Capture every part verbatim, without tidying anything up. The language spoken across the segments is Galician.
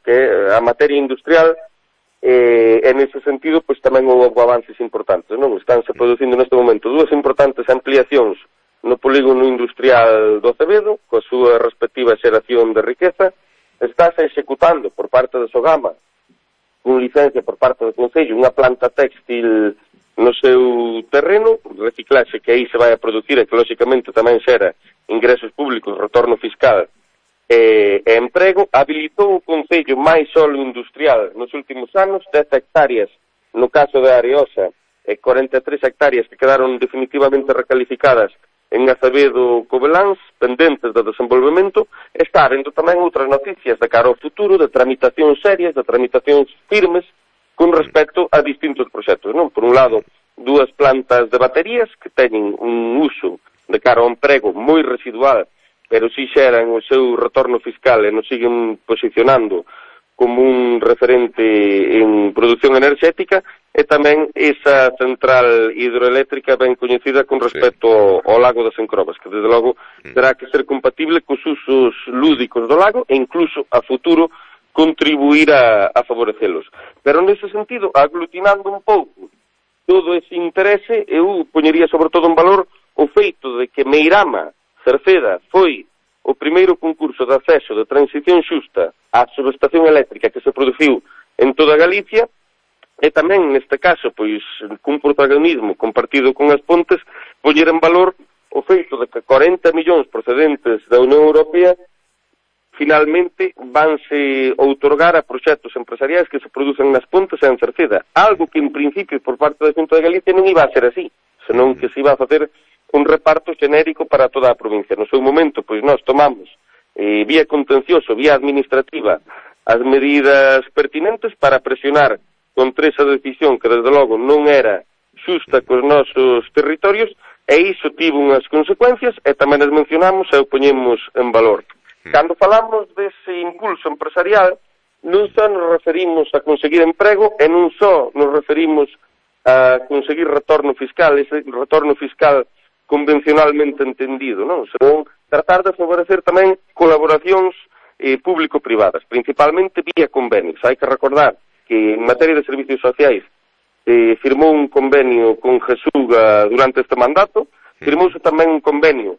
que é a materia industrial, e, e nese sentido, pois tamén houve avances importantes, non? Estánse producindo neste momento dúas importantes ampliacións no polígono industrial do Acevedo, coa súa respectiva xeración de riqueza. Estáse executando por parte de Sogama, con licencia por parte do Concello, unha planta textil no seu terreno, reciclaxe que aí se vai a producir e que, lóxicamente, tamén xera ingresos públicos, retorno fiscal e, e emprego. Habilitou o Concello máis solo industrial nos últimos anos, dez hectáreas no caso de Areosa e cuarenta e tres hectáreas que quedaron definitivamente recalificadas en Acevedo Cobeláns, pendentes do desenvolvemento. Está vendo tamén outras noticias de cara ao futuro, de tramitacións serias, de tramitacións firmes, con respecto a distintos proxectos, non? Por un lado, dúas plantas de baterías que teñen un uso de cara ao emprego moi residual, pero si xeran o seu retorno fiscal e nos siguen posicionando como un referente en produción enerxética, e tamén esa central hidroeléctrica ben coñecida con respecto sí. ao, ao lago das Encrobas, que desde logo terá que ser compatible cos usos lúdicos do lago e incluso a futuro contribuir a, a favorecelos. Pero nese sentido, aglutinando un pouco todo ese interese, eu poñería sobre todo en valor o feito de que Meirama Cerceda foi o primeiro concurso de acceso de transición xusta á subestación eléctrica que se produciu en toda Galicia, e tamén, neste caso, pois, cun protagonismo compartido con as Pontes, poñer en valor o feito de que cuarenta millóns procedentes da Unión Europea finalmente vanse outorgar a proxectos empresariais que se producen nas Pontes e en Cerceda, algo que en principio por parte da Xunta de Galicia non iba a ser así, senón que se iba a facer un reparto xenérico para toda a provincia. No seu momento, pois nós tomamos eh, vía contencioso, vía administrativa, as medidas pertinentes para presionar contra esa decisión que, desde logo, non era xusta cos nosos territorios, e iso tivo unhas consecuencias, e tamén as mencionamos e o poñemos en valor. Cando falamos dese impulso empresarial, non só nos referimos a conseguir emprego, e non só nos referimos a conseguir retorno fiscal, ese retorno fiscal convencionalmente entendido, non? Senón tratar de favorecer tamén colaboracións eh, público-privadas, principalmente vía convenios. Hai que recordar que en materia de servicios sociais eh, firmou un convenio con Jesuga durante este mandato, firmouse tamén un convenio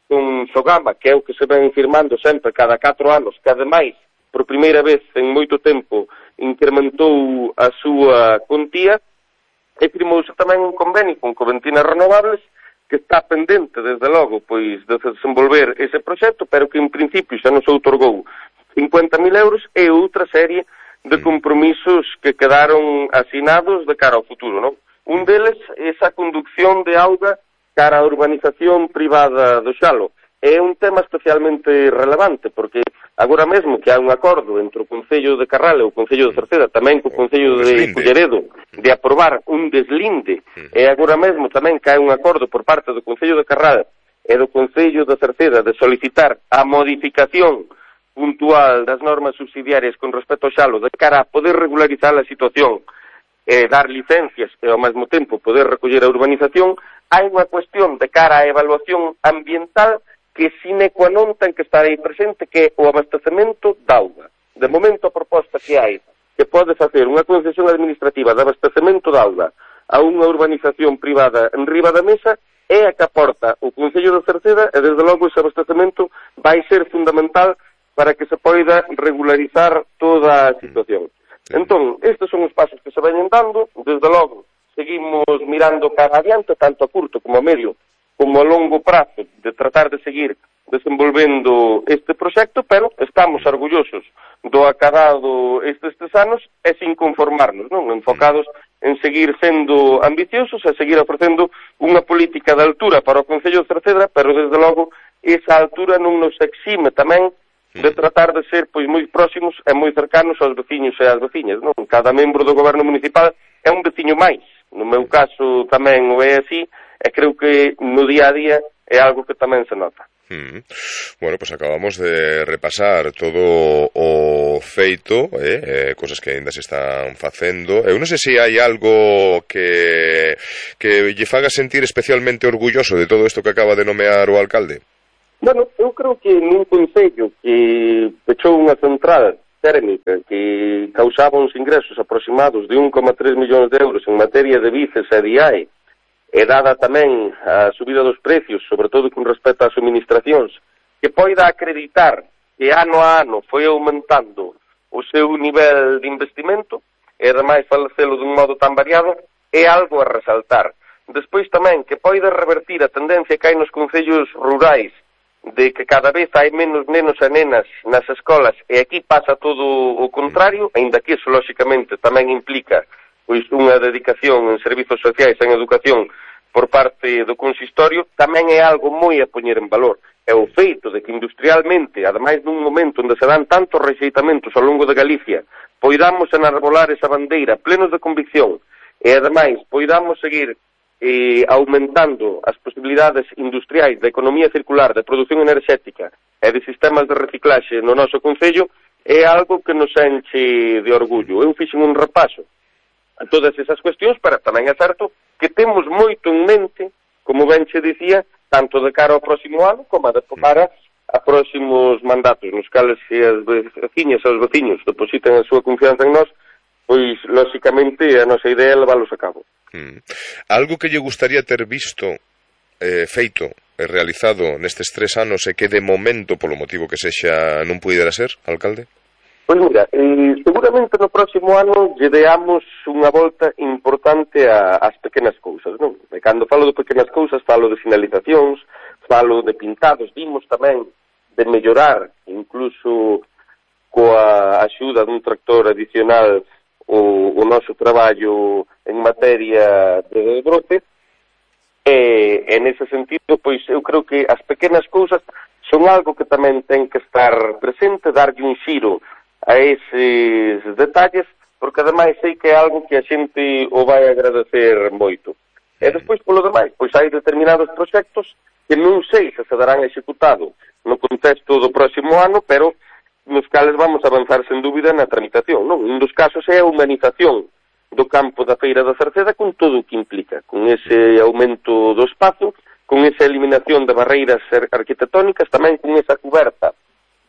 con Sogama, que é o que se ven firmando sempre cada catro anos, que ademais, por primeira vez en moito tempo, incrementou a súa contía, e firmouse tamén un convenio con Coventinas Renovables, que está pendente, desde logo, pois, de desenvolver ese proxecto, pero que en principio xa nos outorgou cincuenta mil euros e outra serie de compromisos que quedaron asinados de cara ao futuro, non? Un deles é esa conducción de auga cara á urbanización privada do Xalo. É un tema especialmente relevante, porque agora mesmo que hai un acordo entre o Concello de Carral e o Concello de Cerceda, tamén co Concello de Culleredo, de aprobar un deslinde, e agora mesmo tamén que hai un acordo por parte do Concello de Carral e do Concello de Cerceda de solicitar a modificación puntual das normas subsidiarias con respecto ao Xalo de cara a poder regularizar a situación e dar licencias e ao mesmo tempo poder recoller a urbanización, hai unha cuestión de cara á evaluación ambiental que sine qua non ten que estar aí presente, que é o abastecemento de auga. De momento a proposta que hai que pode facer unha concesión administrativa de abastecemento de auga a unha urbanización privada en riba da mesa é a que aporta o Concello de Cerceda, e desde logo ese abastecemento vai ser fundamental para que se poida regularizar toda a situación. Entón, estes son os pasos que se veñen dando, desde logo, seguimos mirando cara adiante, tanto a curto como a medio, como a longo prazo, de tratar de seguir desenvolvendo este proxecto, pero estamos orgullosos do acabado estes tres anos e sin conformarnos, non? Enfocados en seguir sendo ambiciosos e seguir ofrecendo unha política de altura para o Concello de Cerceda, pero desde logo esa altura non nos exime tamén de tratar de ser pois moi próximos e moi cercanos aos veciños e ás veciñas, non? Cada membro do goberno municipal é un veciño máis. No meu caso tamén o é así, e creo que no día a día é algo que tamén se nota. Mm. Bueno, pues acabamos de repasar todo o feito, eh, eh, cosas que ainda se están facendo. Eu non sei se hai algo que que lle faga sentir especialmente orgulloso de todo isto que acaba de nomear o alcalde. Bueno, eu creo que nun concello que pechou unha central térmica, que causaba uns ingresos aproximados de un coma tres millóns de euros en materia de bices e de I A E, e dada tamén a subida dos precios, sobre todo con respecto ás suministracións, que poida acreditar que ano a ano foi aumentando o seu nivel de investimento, e ademais facelo dun modo tan variado, é algo a resaltar. Despois tamén que poida revertir a tendencia que hai nos concellos rurais de que cada vez hai menos nenos e nenas nas escolas, e aquí pasa todo o contrario, aínda que iso, lóxicamente, tamén implica pois unha dedicación en servizos sociais, en educación, por parte do consistorio, tamén é algo moi a poñer en valor. É o feito de que industrialmente, ademais dun momento onde se dan tantos rexeitamentos ao longo de Galicia, poidamos enarbolar esa bandeira plenos de convicción, e ademais poidamos seguir eh, aumentando as posibilidades industriais da economía circular, de produción enerxética e de sistemas de reciclaxe no noso concello, é algo que nos enche de orgullo. Eu fixen un repaso a todas esas cuestións, pero tamén é certo que temos moito en mente, como ben che dicía, tanto de cara ao próximo ano como de cara a próximos mandatos, nos cales se as veciñas e os veciños depositan a súa confianza en nós, pois, lóxicamente, a nosa idea é leválos a cabo. Mm. Algo que lle gustaría ter visto, eh, feito e realizado nestes tres anos e que de momento, polo motivo que sexa, non pudera ser, alcalde? Pois mira, eh, seguramente no próximo ano lle deamos unha volta importante a, ás pequenas cousas, non? E cando falo de pequenas cousas, falo de finalizacións, falo de pintados, vimos tamén de mellorar, incluso coa axuda dun tractor adicional, o, o noso traballo en materia de brote, e, e nese sentido, pois eu creo que as pequenas cousas son algo que tamén ten que estar presente, darlle un xiro a eses detalles, porque ademais sei que é algo que a xente o vai agradecer moito. E despois, polo demais, pois hai determinados proxectos que non sei se se darán executado no contexto do próximo ano, pero nos cales vamos avanzar sen dúbida na tramitación, non? Un dos casos é a humanización do campo da Feira da Cerceda con todo o que implica, con ese aumento do espazo, con esa eliminación de barreiras arquitectónicas, tamén con esa cuberta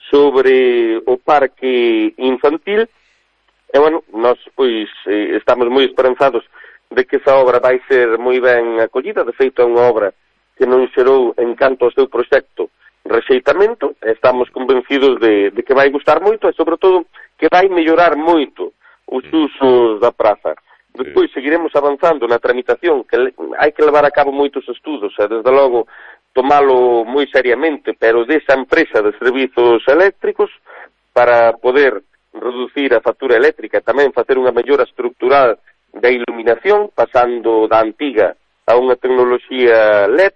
sobre o parque infantil, e, bueno, nós, pois, eh, estamos moi esperanzados de que esa obra vai ser moi ben acollida. De feito, é unha obra que non xerou, en canto ao seu proxecto, rexeitamento, e estamos convencidos de, de que vai gustar moito, e, sobre todo, que vai mellorar moito os usos da praza. Despois, seguiremos avanzando na tramitación, que hai que levar a cabo moitos estudos, e, desde logo, tomalo moi seriamente, pero desa empresa de servizos eléctricos, para poder reducir a factura eléctrica, tamén facer unha mellora estructural da iluminación, pasando da antiga a unha tecnoloxía L E D,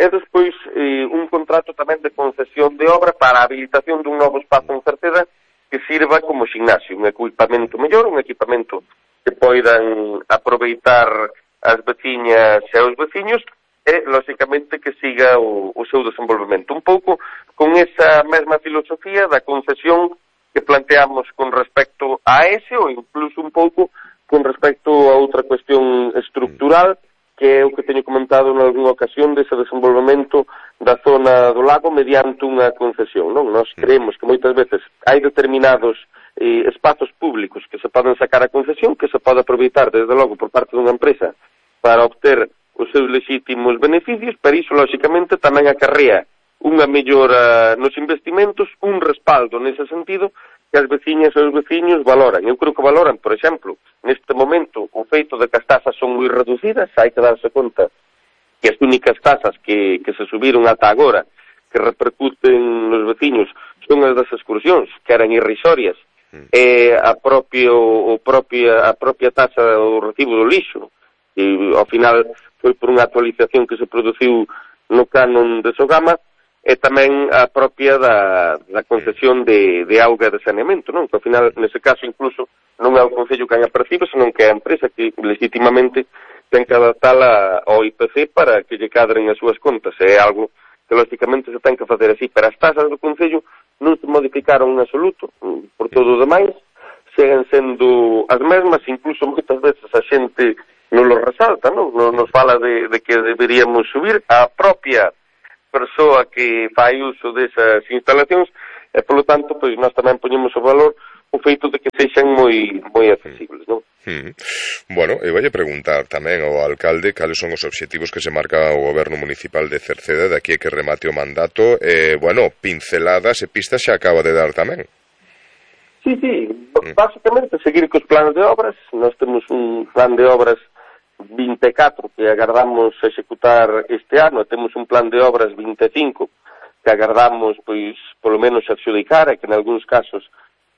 e despois eh, un contrato tamén de concesión de obra para a habilitación dun novo espazo en Cerceda que sirva como ximnasio, un equipamento mellor, un equipamento que poidan aproveitar as veciñas e os veciños, e, lóxicamente, que siga o, o seu desenvolvemento. Un pouco con esa mesma filosofía da concesión que planteamos con respecto a ese, ou incluso un pouco con respecto a outra cuestión estructural, que é o que teño comentado en algunha ocasión dese desenvolvemento da zona do lago mediante unha concesión, non? Nós creemos que moitas veces hai determinados eh, espazos públicos que se poden sacar a concesión, que se pode aproveitar, desde logo, por parte dunha empresa para obter os seus legítimos beneficios, pero iso, lóxicamente, tamén acarrea unha mellora nos investimentos, un respaldo nese sentido, que as veciñas e os veciños valoran. Eu creo que valoran, por exemplo, neste momento, o feito de que as tasas son moi reducidas, hai que darse conta que as únicas tasas que, que se subiron ata agora, que repercuten nos veciños, son as das excursións, que eran irrisorias, e a, propio, o propia, a propia tasa do recibo do lixo, e ao final foi por unha actualización que se produciu no canon de Sogama, e tamén a propia da, da concesión de, de auga de saneamento, non? Que ao final, nese caso, incluso, non é o Concello que a percibe, senón que é a empresa que, legitimamente, ten que adaptala ao I P C para que lle cadren as súas contas. É algo que, lógicamente, se ten que facer así. Pero as tasas do Concello non se modificaron en absoluto, por todo o demais, seguen sendo as mesmas, incluso moitas veces a xente non lo resalta, non? Nos fala de, de que deberíamos subir. A propia persoa que fai uso desas instalacións, e, polo tanto, pois nós tamén poñemos o valor o feito de que sexan moi moi accesibles, non? Mm. Bueno, e vai a preguntar tamén ao alcalde cales son os obxectivos que se marca o goberno municipal de Cerceda de aquí a que remate o mandato, e, bueno, pinceladas e pistas xa acaba de dar tamén. Sí, sí, basicamente seguir cos planes de obras. Nós temos un plan de obras vinte e catro que agardamos executar este ano, temos un plan de obras vinte e cinco que agardamos, pois, polo menos adxudicar, e que en algúns casos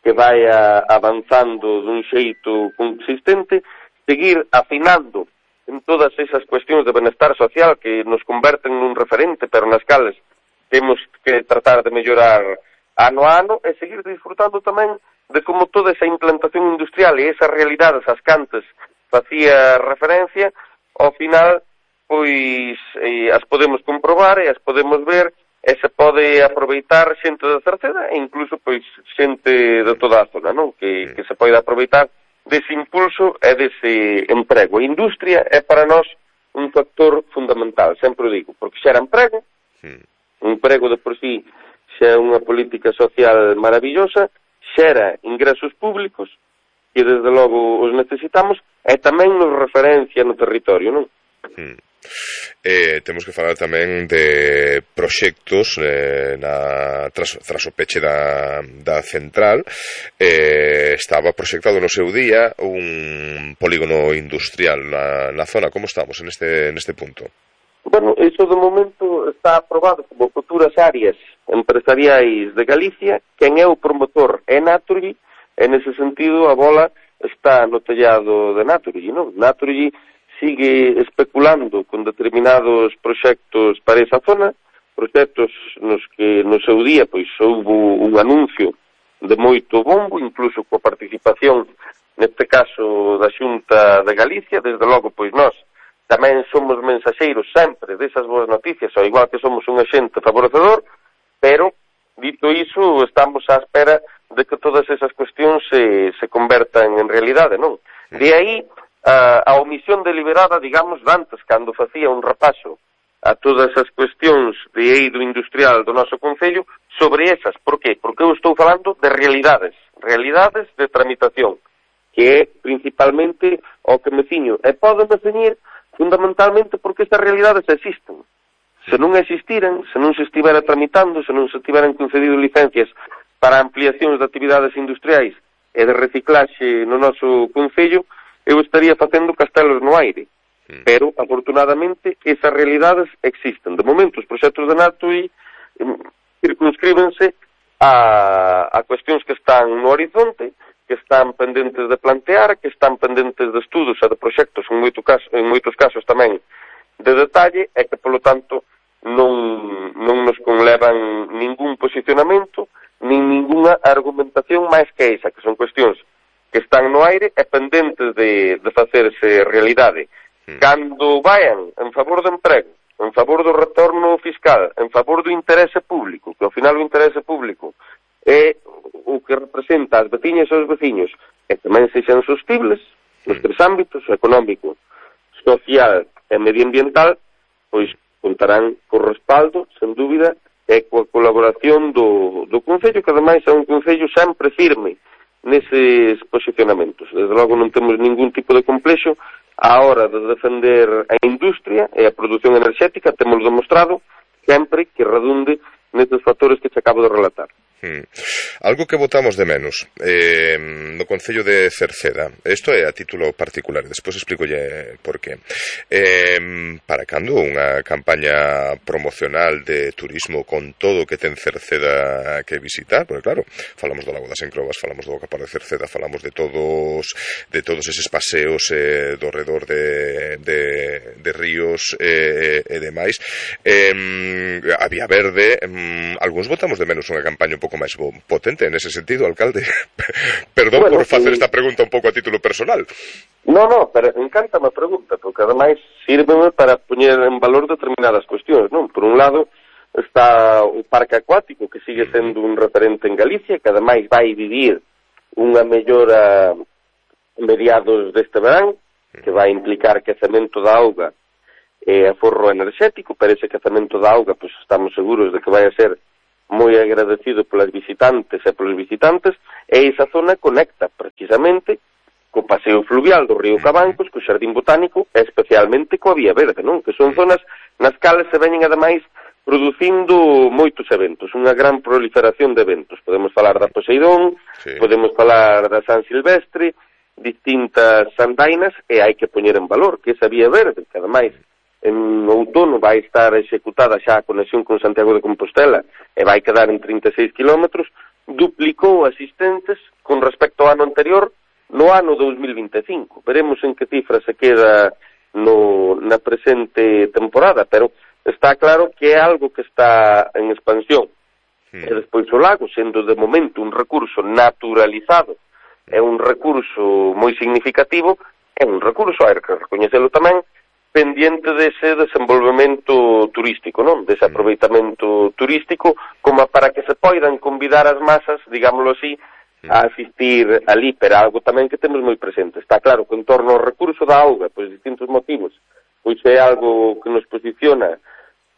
que vai avanzando dun xeito consistente, seguir afinando en todas esas cuestións de benestar social que nos converten nun referente, pero nas cales temos que tratar de mellorar ano a ano, e seguir disfrutando tamén de como toda esa implantación industrial e esas realidades as cantes facía referencia, ao final, pois, eh, as podemos comprobar e as podemos ver, e se pode aproveitar xente da Cerceda e incluso, pois, xente de toda a zona, non? Que, que se pode aproveitar dese impulso e dese emprego. A industria é para nós un factor fundamental, sempre o digo, porque xera emprego, un emprego de por sí xa é unha política social maravillosa, xera ingresos públicos, que desde logo os necesitamos, e tamén nos referencia no territorio, non? Hmm. Eh, temos que falar tamén de proxectos eh, na, tras, tras o peche da, da central. Eh, estaba proxectado no seu día un polígono industrial na, na zona. Como estamos en este, en este punto? Bueno, iso de momento está aprobado como futuras áreas empresariais de Galicia. Quen é o promotor é Naturgy, e nese sentido a bola está no tellado de Naturgy, non? Naturgy sigue especulando con determinados proxectos para esa zona, proxectos nos que no seu día pois houve un anuncio de moito bombo, incluso coa participación neste caso da Xunta de Galicia. Desde logo, pois nós tamén somos mensaxeiros sempre desas boas noticias, ao igual que somos un axente favorecedor, pero, dito iso, estamos á espera de que todas esas cuestións se, se convertan en realidade, non? De aí a, a omisión deliberada, digamos, dantes, cando facía un repaso a todas as cuestións de eido industrial do noso concello, sobre esas. Por qué? Porque eu estou falando de realidades, realidades de tramitación, que é principalmente o que me ciño. E poden me ceñir fundamentalmente porque estas realidades existen. Se non existiran, se non se estivera tramitando, se non se estiveran concedido licencias para ampliacións de actividades industriais e de reciclaxe no noso concello, eu estaría facendo castelos no aire. Pero, afortunadamente, esas realidades existen. De momento, os proxectos de Naturgy circunscríbense a, a cuestións que están no horizonte, que están pendentes de plantear, que están pendentes de estudos e de proxectos, en, moito caso, en moitos casos tamén de detalle, e que, polo tanto, non, non nos conlevan ningún posicionamento, nin ninguna argumentación máis que esa, que son cuestións que están no aire e pendentes de, de facerse realidade. Mm. Cando vayan en favor do emprego, en favor do retorno fiscal, en favor do interese público, que ao final o interese público é o que representa as veciñas e os veciños, e tamén sexan sostibles nos tres ámbitos, económico, social e medioambiental, pois contarán co respaldo, sen dúbida, e coa colaboración do, do Concello, que ademais é un Concello sempre firme neses posicionamentos. Desde logo non temos ningún tipo de complexo á hora de defender a industria e a produción enerxética, temos demostrado sempre que redunde nestes factores que te acabo de relatar. Hmm. Algo que votamos de menos eh, no Concello de Cerceda, isto é a título particular, despois explicolle por qué. Eh, para cando unha campaña promocional de turismo con todo o que ten Cerceda que visitar? Porque claro, falamos do Lago das Encrobas, falamos do Bocapar de Cerceda, falamos de todos de todos eses paseos eh, do redor de, de, de ríos eh, e demais. Eh, a Vía Verde, eh, algúns votamos de menos unha campaña un pouco máis potente nese sentido, alcalde. Perdón bueno, por facer sí. esta pregunta un pouco a título personal. No, no, pero encántame a pregunta, porque ademais sírveme para poñer en valor determinadas cuestións, non? Por un lado está o parque acuático, que sigue sendo un referente en Galicia, que ademais vai vivir unha mellora mediados deste verán, que vai implicar quecemento da auga e aforro enerxético. Pero ese quecemento da auga, pois estamos seguros de que vai a ser moi agradecido polas visitantes e polos visitantes, e esa zona conecta precisamente co paseo fluvial do río Cabancos, co Xardín Botánico, e especialmente coa Vía Verde, non? Que son zonas nas cales se veñen ademais producindo moitos eventos, unha gran proliferación de eventos. Podemos falar da Poseidón, sí. Podemos falar da San Silvestre, distintas andainas, e hai que poñer en valor que esa Vía Verde, que ademais en outono vai estar executada xa a conexión con Santiago de Compostela e vai quedar en trinta e seis kilómetros, duplicou asistentes con respecto ao ano anterior no ano dos mil vinte e cinco. Veremos en que cifra se queda no, na presente temporada, pero está claro que é algo que está en expansión. Mm. E despois o lago, sendo de momento un recurso naturalizado, é un recurso moi significativo, é un recurso, hai que recoñecelo tamén, pendiente dese desenvolvemento turístico, non? Dese aproveitamento turístico, como para que se poidan convidar as masas, digámoslo así, a asistir ali, pero algo tamén que temos moi presente. Está claro que en torno ao recurso da auga, pois distintos motivos, pois é algo que nos posiciona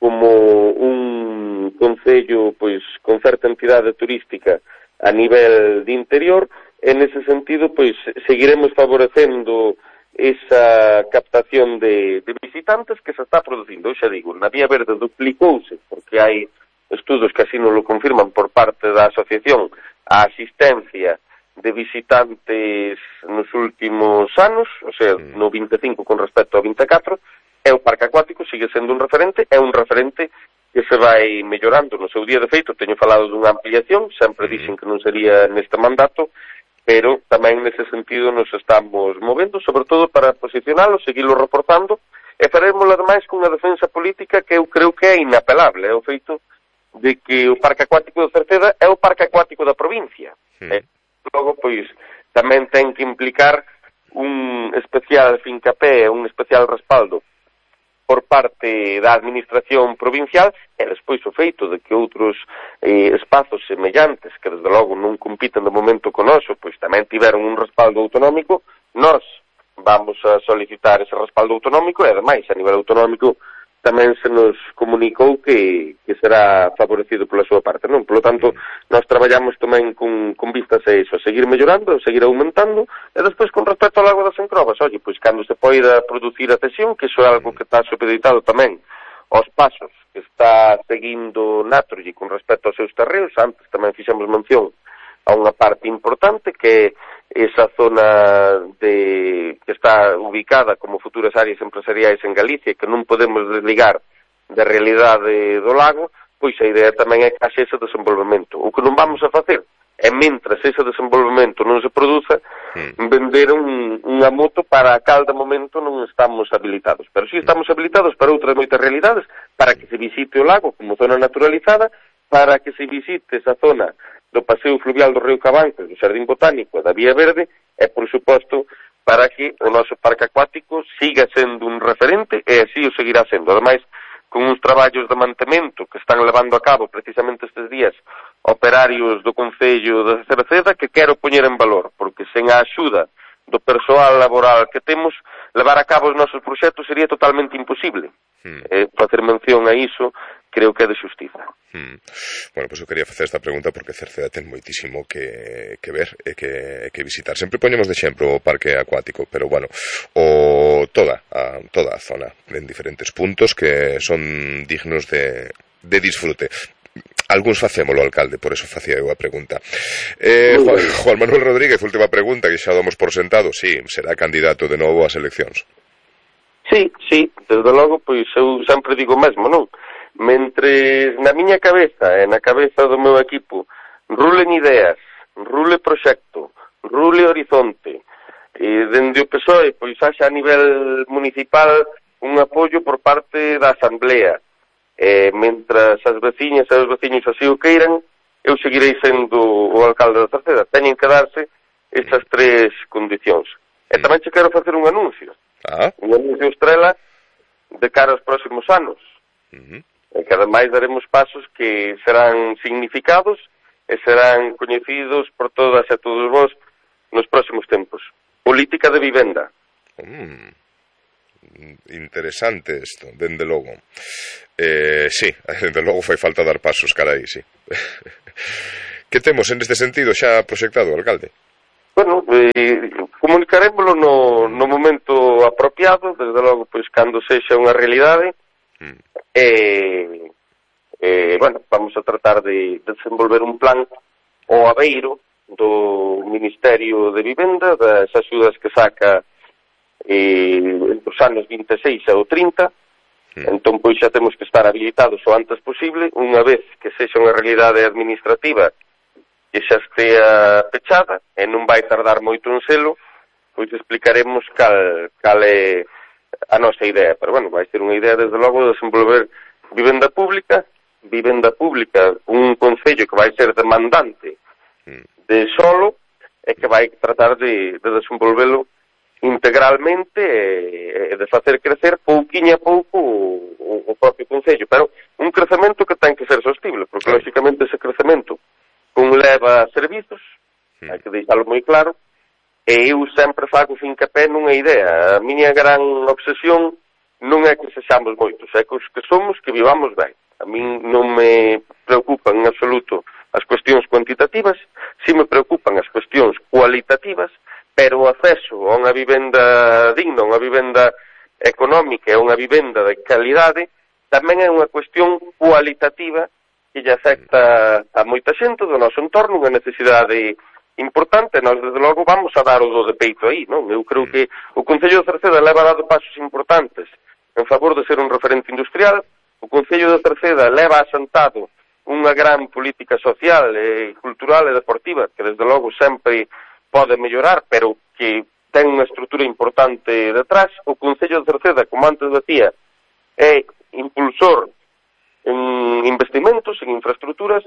como un concello pois con certa entidade turística a nivel de interior, e nese sentido pois seguiremos favorecendo esa captación de, de visitantes que se está producindo. Eu xa digo, na Vía Verde duplicouse, porque hai estudos que así non lo confirman por parte da asociación, a asistencia de visitantes nos últimos anos, o sea, no vinte e cinco con respecto ao vinte e catro, e o parque acuático sigue sendo un referente, é un referente que se vai mellorando. No seu día, de feito, teño falado dunha ampliación, sempre dixen que non sería neste mandato, pero tamén nese sentido nos estamos movendo, sobre todo para posicionalo, seguilo reportando, e faremos ademais cunha defensa política que eu creo que é inapelable, é o feito de que o Parque Acuático de Cerceda é o Parque Acuático da provincia. Sí. E logo, pois, tamén ten que implicar un especial fincapé, un especial respaldo por parte da administración provincial, e despois o feito de que outros eh, espazos semellantes, que desde logo non compiten de momento con noso, pois tamén tiveron un respaldo autonómico, nós vamos a solicitar ese respaldo autonómico, e ademais a nivel autonómico tamén se nos comunicou que, que será favorecido pola súa parte, non? Por lo tanto, nós traballamos tamén con, con vistas a iso, a seguir mellorando, a seguir aumentando, e despois con respecto ao lago das Encrobas, oye, pois cando se poida producir a cesión, que iso é algo que está supeditado tamén aos pasos que está seguindo Naturgy con respecto aos seus terreos, antes tamén fixemos mención a unha parte importante que é esa zona de que está ubicada como futuras áreas empresariais en Galicia, que non podemos desligar da realidade do lago, pois a idea tamén é que haxe ese desenvolvemento. O que non vamos a facer é, mentras ese desenvolvemento non se produza, vender un, unha moto para a cal de momento non estamos habilitados. Pero si estamos habilitados para outras moitas realidades, para que se visite o lago como zona naturalizada, para que se visite esa zona do paseo fluvial do río Cabancos, do Xardín Botánico e da Vía Verde, e, por suposto, para que o noso parque acuático siga sendo un referente, e así o seguirá sendo. Ademais, con uns traballos de mantemento que están levando a cabo precisamente estes días operarios do Concello de Cerceda, que quero poñer en valor, porque sen a axuda do persoal laboral que temos, levar a cabo os nosos proxectos sería totalmente imposible. Hmm. Eh, facer mención a iso creo que é de xustiza. Hmm. Bueno, pois pues eu quería facer esta pregunta porque Cerceda ten moitísimo que, que ver e que, que visitar. Sempre poñemos de exemplo o parque acuático, pero bueno, o toda a, toda a zona en diferentes puntos que son dignos de, de disfrute. Algúns facémolo, alcalde, por eso facía eu a pregunta. Eh, Juan, Juan Manuel Rodríguez, última pregunta, que xa damos por sentado. Sí, será candidato de novo ás eleccións. Sí, sí, desde logo, pois eu sempre digo mesmo, non? Mentres na miña cabeza e na cabeza do meu equipo rulen ideas, rule proxecto, rule horizonte, e dende o P S O E, pois haxa a nivel municipal un apoio por parte da Asamblea, e mentras as veciñas e os veciños así o queiran, eu seguirei sendo o alcalde da Cerceda. Teñen que darse estas tres condicións. E tamén che quero facer un anuncio. Ah. Un anuncio estrela de cara aos próximos anos. Uh-huh. E que ademais daremos pasos que serán significados e serán coñecidos por todas e todos vos nos próximos tempos. Política de vivenda. Mm. interesante isto, dende logo. Eh, sí, dende logo fai falta dar pasos, carai, sí. Que temos en este sentido xa proxectado, alcalde? Bueno, eh, comunicarémoslo no, no momento apropiado, desde logo, pois, cando sexa unha realidade, mm. e, eh, bueno, vamos a tratar de, de desenvolver un plan ao abeiro do Ministerio de Vivenda, das axudas que saca eh, entre os anos vinte e seis e o trinta, mm. entón, pois, xa temos que estar habilitados o antes posible, unha vez que sexa unha realidade administrativa que xa estea pechada, e non vai tardar moito en selo, pois explicaremos cal, cal é a nosa idea. Pero, bueno, vai ser unha idea, desde logo, de desenvolver vivenda pública, vivenda pública, un concello que vai ser demandante de solo, e que vai tratar de, de desenvolvelo integralmente e, e de facer crecer pouquiño a pouco o, o propio concello. Pero un crecemento que ten que ser sostible, porque, lógicamente, ese crecemento conleva servizos, mm. hai que deixalo moi claro, e eu sempre fago fincapé nunha idea. A miña gran obsesión non é que sexamos moitos, é que os que somos que vivamos ben. A min non me preocupan en absoluto as cuestións cuantitativas, si me preocupan as cuestións cualitativas, pero o acceso a unha vivenda digna, a unha vivenda económica e a unha vivenda de calidade tamén é unha cuestión cualitativa que lle afecta a moita xente do noso entorno, unha necesidade importante. Nós, desde logo, vamos a dar o do de peito aí, non? Eu creo que o Concello de Cerceda leva dado pasos importantes en favor de ser un referente industrial. O Concello de Cerceda leva asentado unha gran política social, e cultural e deportiva, que, desde logo, sempre pode mellorar, pero que ten unha estrutura importante detrás. O Concello de Cerceda, como antes decía, é impulsor en investimentos, en infraestructuras,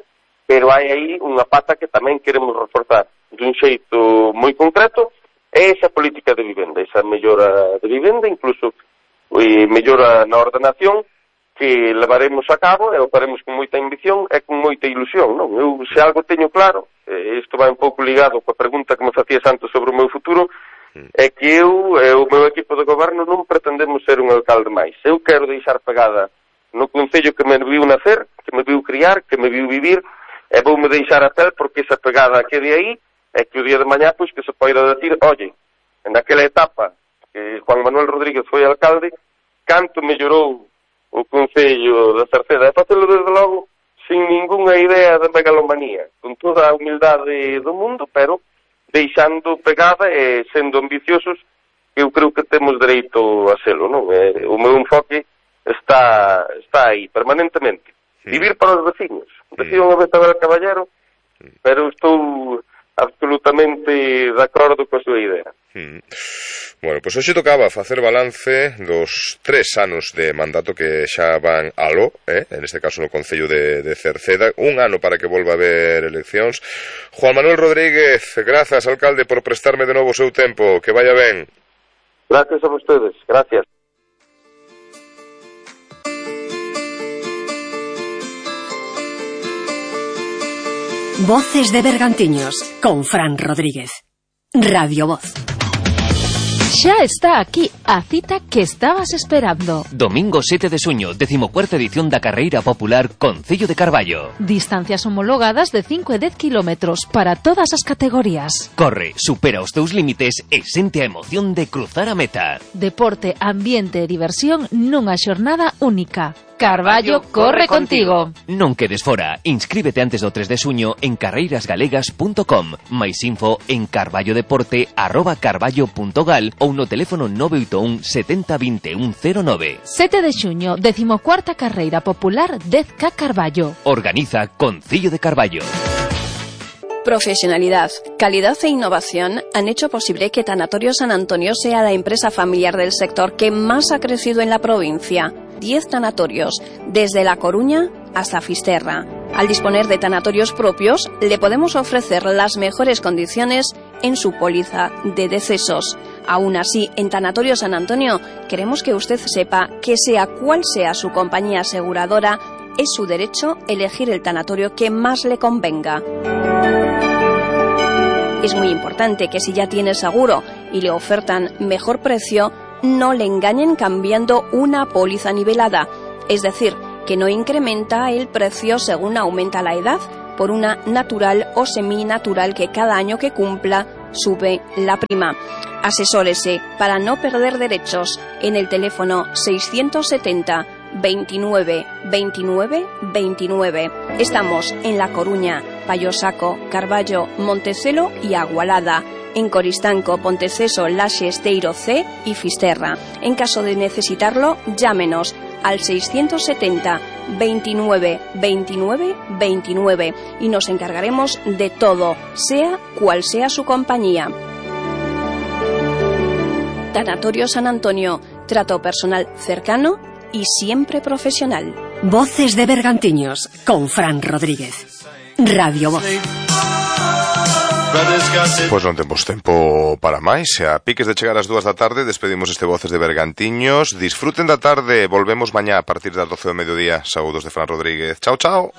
pero hai aí unha pata que tamén queremos reforzar dun xeito moi concreto, é esa política de vivenda, esa mellora de vivenda, incluso eh, mellora na ordenación, que levaremos a cabo e o faremos con moita ambición e con moita ilusión, non? Eu, se algo teño claro, eh, isto vai un pouco ligado coa pregunta que me facías antes sobre o meu futuro, é que eu e o meu equipo de goberno non pretendemos ser un alcalde máis. Eu quero deixar pegada no concello que me viu nacer, que me viu criar, que me viu vivir, e voume deixar a pel porque esa pegada quede aí, e que o día de mañá, pois, que se poida decir, oye, en aquela etapa que Juan Manuel Rodríguez foi alcalde, canto mellorou o concello de Cerceda, e facelo, desde logo, sin ningunha idea de megalomanía, con toda a humildade do mundo, pero deixando pegada e sendo ambiciosos, eu creo que temos dereito a selo, non? E o meu enfoque está está aí, permanentemente. Sí. Vivir para os vecinos. Decía unha vez Abel Caballero, pero estou absolutamente de acordo coa súa idea. Mm. Bueno, pois hoxe tocaba facer balance dos tres anos de mandato que xa van aló, eh? En este caso no Concello de, de Cerceda, un ano para que volva a haber eleccións. Juan Manuel Rodríguez, grazas, alcalde, por prestarme de novo o seu tempo, que vaya ben. Gracias a vostedes, gracias. Voces de Bergantiños, con Fran Rodríguez. Radio Voz. Xa está aquí a cita que estabas esperando. Domingo sete de xuño, decimocuarta edición da Carreira Popular Concello de Carballo. Distancias homologadas de cinco e dez kilómetros para todas as categorías. Corre, supera os teus límites e sente a emoción de cruzar a meta. Deporte, ambiente e diversión nunha xornada única. Carballo corre contigo. Non quedes fora. Inscríbete antes do tres de xuño en carreiras galegas punto com. Mais info en carballodeporte arroba carballo punto gal ou no teléfono nove oito un setenta vinte e un cero nove. sete de xuño, decimocuarta Carreira Popular dez K Carballo. Organiza Concello de Carballo. Profesionalidad, calidad e innovación han hecho posible que Tanatorio San Antonio sea la empresa familiar del sector que más ha crecido en la provincia. Diez tanatorios, desde La Coruña hasta Fisterra. Al disponer de tanatorios propios, le podemos ofrecer las mejores condiciones en su póliza de decesos. Aún así, en Tanatorio San Antonio, queremos que usted sepa que sea cual sea su compañía aseguradora, es su derecho elegir el tanatorio que más le convenga. Es muy importante que si ya tiene seguro y le ofertan mejor precio, no le engañen cambiando una póliza nivelada, es decir, que no incrementa el precio según aumenta la edad, por una natural o seminatural que cada año que cumpla sube la prima. Asesórese para no perder derechos en el teléfono seiscientos setenta veintinueve veintinueve veintinueve. Estamos en La Coruña, Payosaco, Carballo, Montecelo y Agualada. En Coristanco, Ponteceso, Laxe, Esteiro C y Fisterra. En caso de necesitarlo, llámenos al seiscientos setenta veintinueve veintinueve veintinueve y nos encargaremos de todo, sea cual sea su compañía. Tanatorio San Antonio, trato personal cercano y siempre profesional. Voces de Bergantiños con Fran Rodríguez. Radio Voz. Pois non temos tempo para máis. A piques de chegar ás dúas da tarde despedimos este Voces de Bergantiños. Disfruten da tarde. Volvemos mañá a partir das doce do mediodía. Saúdos de Fran Rodríguez. Chao, chao.